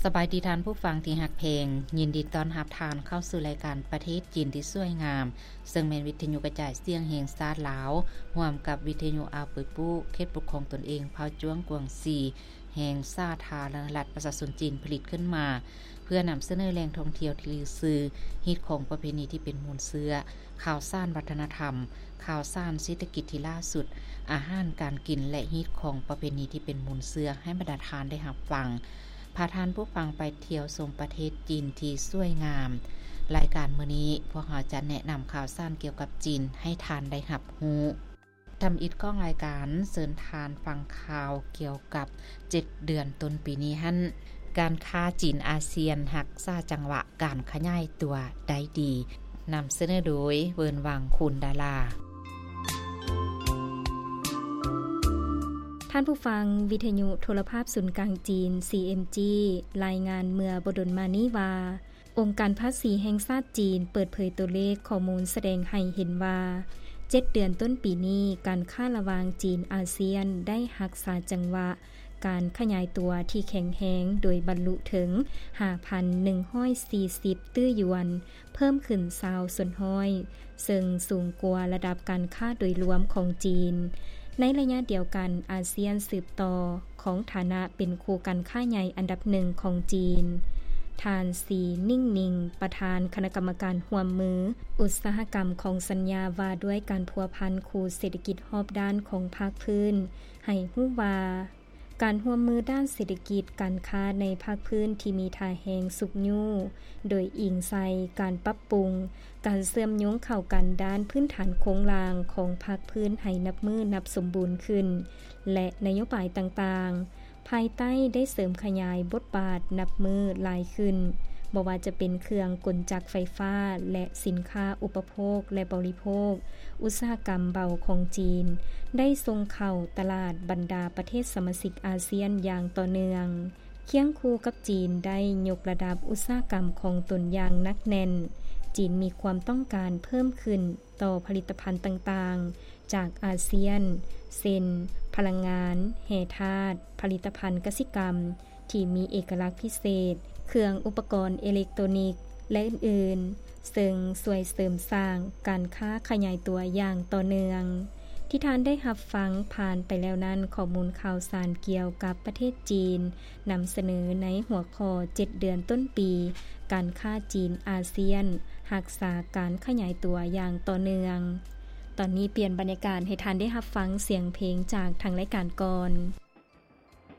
ສະບາຍດີທ່ານຜູ້ຟັງທີ່ຮັກແພງ, ຍິນດີຕ້ອນຮັບທ່ານເຂົ້າສູ່ລາຍການປະເທດຈີນທີ່ສວຍງາມ, ເຊິ່ງແມ່ນວິທະຍຸກະຈາຍສຽງແຫ່ງຊາດລາວ, ຮ່ວມກັບວິທະຍຸອາປຸຍປູ ເຂດປົກຄອງຕົນເອງເຜົ່າຈວງກວາງຊີ ແຫ່ງສາທາລະນະລັດປະຊາຊົນຈີນຜະລິດຂຶ້ນມາ ເພື່ອນຳສະເໜີແຫຼ່ງທ່ອງທ່ຽວທີ່ລືຊື່, ຮີດຄອງປະເພນີທີ່ເປັນມູນເຊື້ອ, ຂ່າວສານວັດທະນະທຳ, ຂ່າວສານເສດຖະກິດທີ່ລ່າສຸດ, ອາຫານການກິນ ແລະ ຮີດຄອງປະເພນີທີ່ເປັນມູນເຊື້ອໃຫ້ບັນດາທ່ານໄດ້ຮັບຟັງ. ພາທ່ານຜູ້ຟັງໄປທ່ຽວຊົມປະເທດຈີນທີ່ສວຍງາມ. ລາຍການມື້ນີ້ ພວກເຮົາຈະແນະນຳຂ່າວສານກ່ຽວກັບຈີນໃຫ້ທ່ານໄດ້ຮັບຮູ້. ທຳອິດຂອງລາຍການ ເຊີນທ່ານຟັງຂ່າວກ່ຽວກັບເຈັດເດືອນຕົ້ນປີນີ້ຫັ້ນ, ການຄ້າຈີນອາຊຽນຮັກສາຈັງຫວະການຂະຫຍາຍຕົວໄດ້ດີ. ນຳສະເໜີໂດຍ ເວີນວັງ ຄູນດາລາ. ທ່ານຜູ້ຟັງ, ວິທະຍຸໂທລະພາບສູນກາງຈີນ CMG ລາຍງານເມື່ອບໍ່ດົນມານີ້ວ່າ, ອົງການພາສີແຫ່ງຊາດຈີນເປີດເຜີຍຕົວເລກຂໍ້ມູນສະແດງໃຫ້ເຫັນວ່າ, ເຈັດເດືອນຕົ້ນປີນີ້, ການຄ້າລະຫວ່າງຈີນອາຊຽນໄດ້ຮັກສາຈັງຫວະການຂະຫຍາຍຕົວທີ່ແຂງແຮງ, ໂດຍບັນລຸເຖິງຫ້າພັນໜຶ່ງຮ້ອຍສີ່ສິບຕື້ຢວນ, ເພີ່ມຂຶ້ນຊາວສ່ວນຮ້ອຍ, ເຊິ່ງສູງກວ່າລະດັບການຄ້າໂດຍລວມຂອງຈີນ. ໃນໄລຍະດຽວກັນ, ອາຊຽນສືບຕໍ່ຄອງຖານະເປັນຄູ່ການຄ້າໃຫຍ່ອັນດັບໜຶ່ງຂອງຈີນ. ທ່ານ ສີ ນິ່ງນິງ ປະທານຄະນະກຳມະການຮ່ວມມືອຸດສາຫະກຳຂອງສັນຍາວ່າດ້ວຍການພົວພັນຄູ່ເສດຖະກິດຮອບດ້ານຂອງພາກພື້ນ ໃຫ້ຮູ້ວ່າ, ການຮ່ວມມືດ້ານເສດຖະກິດການຄ້າໃນພາກພື້ນທີ່ມີທ່າແຮງຊຸກຍູ້, ໂດຍອີງໃສ່ການປັບປຸງການເຊື່ອມໂຍງເຂົ້າກັນດ້ານພື້ນຖານໂຄງລ່າງຂອງພາກພື້ນໃຫ້ນັບມື້ນັບສົມບູນຂຶ້ນ ແລະ ນະໂຍບາຍຕ່າງໆ ພາຍໃຕ້ໄດ້ເສີມຂະຫຍາຍບົດບາດນັບມື້ຫຼາຍຂຶ້ນ, ບໍ່ວ່າຈະເປັນເຄື່ອງກົນຈັກໄຟຟ້າ ແລະ ສິນຄ້າອຸປະໂພກ ແລະ ບໍລິໂພກ, ອຸດສາຫະກຳເບົາຂອງຈີນ ໄດ້ສົ່ງເຂົ້າຕະຫຼາດບັນດາປະເທດສະມາຊິກອາຊຽນຢ່າງຕໍ່ເນື່ອງ. ຄຽງຄູ່ກັບຈີນໄດ້ຍົກລະດັບອຸດສາຫະກຳຂອງຕົນຢ່າງໜັກແໜ້ນ, ຈີນມີຄວາມຕ້ອງການເພີ່ມຂຶ້ນຕໍ່ຜະລິດຕະພັນຕ່າງໆຈາກອາຊຽນ ເຊັ່ນ ພະລັງງານ, ແຮ່ທາດ, ຜະລິດຕະພັນກະສິກຳ ທີ່ມີເອກະລັກພິເສດ, ເຄື່ອງອຸປະກອນເອເລັກໂຕນິກ ແລະ ອື່ນໆ, ເຊິ່ງຊ່ວຍເສີມສ້າງການຄ້າຂະຫຍາຍຕົວຢ່າງຕໍ່ເນື່ອງ. ທີ່ທ່ານໄດ້ຮັບຟັງຜ່ານໄປແລ້ວນັ້ນ, ຂໍ້ມູນຂ່າວສານກ່ຽວກັບປະເທດຈີນ ນຳສະເໜີໃນຫົວຂໍ້ ເຈັດເດືອນຕົ້ນປີ, ການຄ້າຈີນອາຊຽນຮັກສາການຂະຫຍາຍຕົວຢ່າງຕໍ່ເນື່ອງ. ຕອນນີ້ປ່ຽນບັນຍາກາດໃຫ້ທ່ານໄດ້ຮັບຟັງສຽງເພງຈາກທາງລາຍການກ່ອນ.